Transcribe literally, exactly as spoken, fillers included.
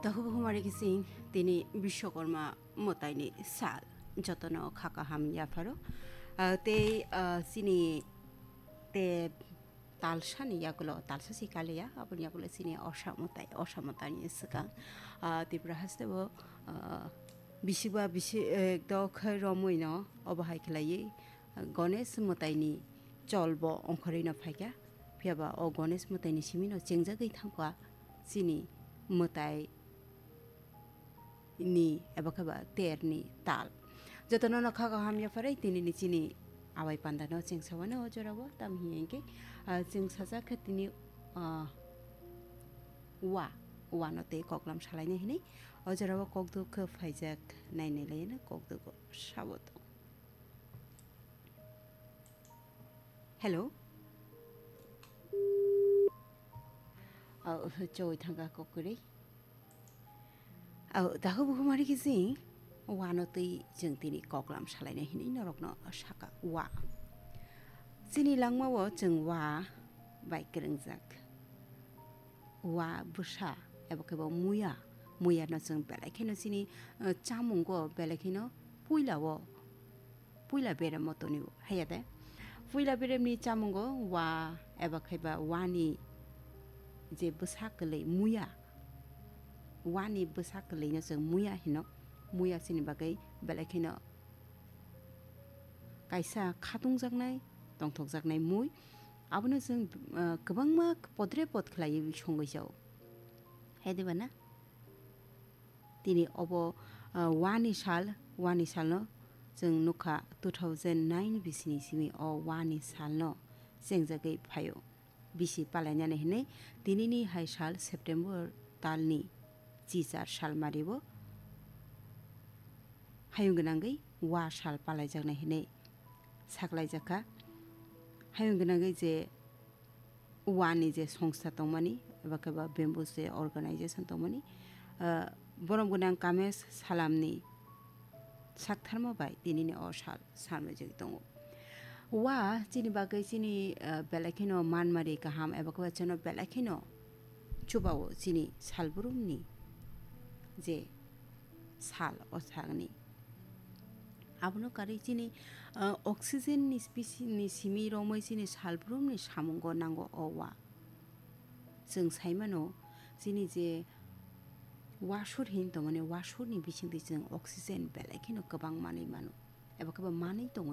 Takhuk bukhumari kising tini Bishwakarma mwtaini sal. Jotono kha kaham yapharo. Ah, tei, ah, chini te talsani yagulo, talsa si kaliya, aboni yagulo chini osa mwtai, osa mwtaini swkang. Ah, Tripura haste bo, ah, bisiba bisi, eh, dok khai romwi no obo hai khlaiwi, ah, Ganesh mwtaini chol bo ongkhorwi no phaikha. Phiya ba o Ganesh mwtaini simi no chengjagwi thangkha chini mwtai ni eba khe ba ter ni tal. Jotono no kha kaham yaphare tini ni chini awai panda no chengsa wano o jora o tam hiya hingke, ah, chengsa jak khe tini, ah, wa, wa no tei koklam salai nai hinui o jora o kokduk khe phaijak nai nai lai no kokduk o sabo tong. Hello. Oh, choi thangka kokri. Oh, tahu buhumari kisi. Wano tei chwng tini koklam salaina hinui norokno saka wa. Chini langmao chwng wa bai kwrwngjak. Wa bwsa eba khe bo muya. Muya no chwng belai kheno chini, eh, chamungo belai kheno puila o puila beremo tonio, haiya de? Puila beremni chamungo wa eba khaiba wani je bwsa kwlwi muya, wani bwsa kwlwino chwng muya hino. Muya chini bagwi belai kheno kaisa khatungjaknai, tongthokjaknai mui. Abono chwng, ah, kwbangma podre pod khlaiwi songwi jao. Hai de ba na? Tini obo, ah, wani sal, wani salno chwng nukha two thousand nine bisini simi o wani salno chengjagwi phaio. Bisi palainani hinwi tinini hai sal September talni chichar salmaribo hayung gwnangwi wa sal palaijaknai hinwi saklaijakha. Hayung gwnangwi je wani je songsta tongmani, eba khe ba bamboo je organization tongmani, ah, borom gwnang Kamesh Salamni saktharma bai tinini o sal salmajagwi tongo. Wa chini bagwi chini, ah, belai kheno manmari kaham eba khe ba chwngno belai kheno chubao chini salbrumni je sal o salni. Abono karwi chini, ah, oxygen ni speci-, ni simi romwi chini salbrumni samungo nango o wa. Chwng sai mano, chini je wasur hin tongmani, wasurni bisingtwi chwng oxygen belai kheno kwbang manwi mano. Eba khe bo manwi tongo